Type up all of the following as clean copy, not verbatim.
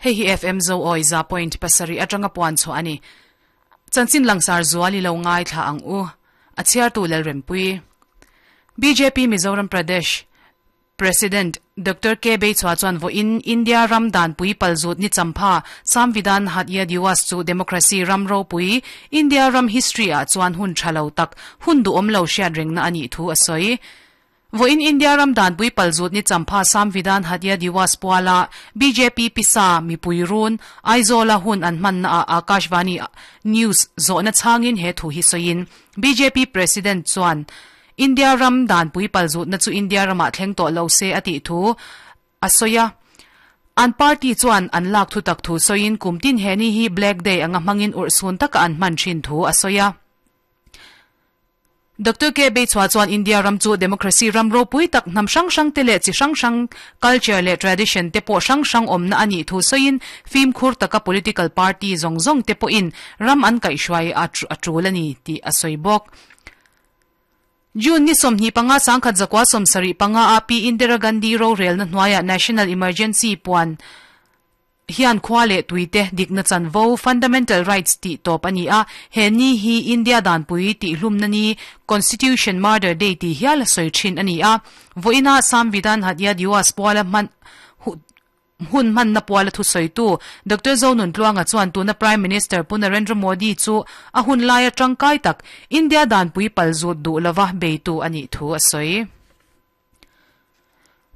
Hei hi FM Zoawi 100.7 atanga puan chhuah a ni. Chanchin langsar zual i lo ngaithla ang u. A chhiartu Lalrempuii. Bjp Mizoram Pradesh President Doctor K Beichhua chuan vawiin India ram danpui palzut ni champha Samvidhan Hatya Diwas chu democracy ram ropui India ram history ah chuan hun tha lo tak hun duhawm lo hriat rengna a nih thu a sawi. Vawiin India ram danpui palzut ni champha Samvidhan Hatya Diwas puala bjp pisa mipui run Aizawla hun an hmanna ah Akashvani News zawhna chhangin he thu hi sawiin bjp President chuan India ram danpui palzutna chu India ramah thleng tawh lo se a tih thu a sawi a. An party chuan an lak thutak thu sawiin kum tin he ni hi Black Day anga hmangin urhsun taka an hman thin thu a sawi a. Doctor K Beichhua chuan India ram chu democracy ram ropui tak hnam hrang hrang te leh chi hrang hrang culture leh tradition te pawh hrang hrang awmna a nih thu sawiin fimkhur taka political party zawng zawng te pawhin ram an kaihhruai a tul a ni tih a sawi bawk. June ni 25 1975 a Pi Indira Gandhi rorelna hnuaiah National Emergency puan hian khua leh tuite dikna chanvo, fundamental rights, tih tawp a ni a, he ni hi India danpui tihhlumna ni, Constitution Murder Day tih hial a sawi thin a ni a. Vawiina Samvidhan Hatya Diwas puala hman Hun hmanna puala thusawitu Doctor Zonuntluanga chuan tuna Prime Minister Pu Narendra Modi chu a hun laia tangkai tak India danpui palzut duh lova beitu a nih thu a sawi.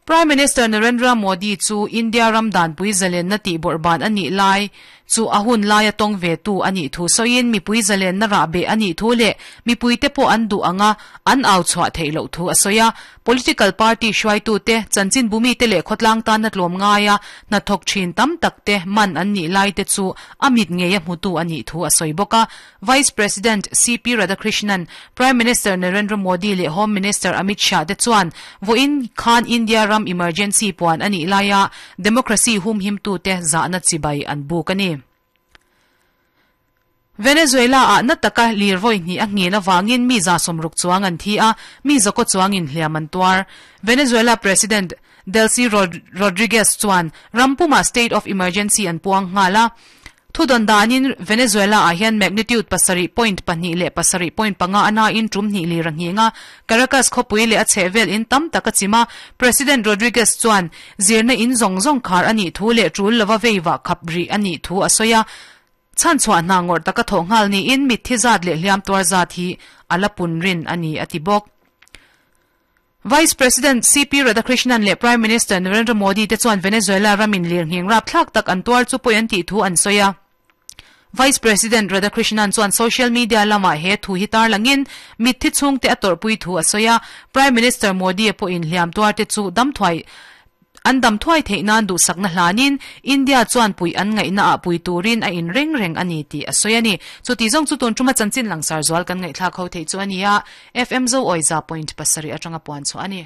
Prime Minister Narendra Modi chu India ram danpui zalenna tih bawrhban a nih lai chu a hun laia tawng ve tu a nih thu sawiin mipui zalenna rahbeh a nih thu leh mipuite pawh an duh anga an au chhuah theih loh thu a sawi a. Political party hruaitute, chanchinbumite leh khawtlang tana tlawm ngaia hnathawk thin tam takte man an nih laite chu a mit ngeia hmutu a nih thu a sawi bawk a. Vice President CP Radhakrishnan, Prime Minister Narendra Modi leh Home Minister Amit Shah te chuan vawiin khan India ram emergency puan a nih laia democracy humhimtute zahna chibai an buk a ni. Venezuela-ah na taka lir vawi hnih a nghin avangin mi 60 chuang an thi a, mi zakaw chuangin hliam an tuar. Venezuela President Delcy Rodriguez chuan ram pumah state of emergency an puang nghal a. Thudawn danin Venezuela-ah hian magnitude 7.2 leh 7.5 a nain tum hnih lir a nghing a. Caracas khawpui leh a chhehvel in tam tak a chim a. President Rodriguez chuan zirna in zawng zawng khar a nih thu leh tul lova veivah khap rih a nih thu a sawi a. Chhan chhuah hna ngawrh taka thawh nghal niin mitthi zat leh hliam tuar zat hi a la pun rin a ni, a ti bawk. Vice President CP Radhakrishnan leh Prime Minister Narendra Modi te chuan Venezuela ramin lirnghing rapthlak tak an tuar chu pawi an tih thu an sawi a. Vice President Radhakrishnan chuan social media lamah he thu hi tarlangin mitthi chhungte a tawrhpui thu a sawi a. Prime Minister Modi-a pawhin hliam tuarte chu damthuai An dam thuai theih nan duhsakna hlanin India chuan puih an ngaihna ah pui turin a in reng reng a ni tih a sawi a ni. Chuti zawng chu tun tuma chanchin langsar zual kan ngaihthlak ho theih chu a ni a, FM Zoawiza point pasarih atanga puan chhuah a ni.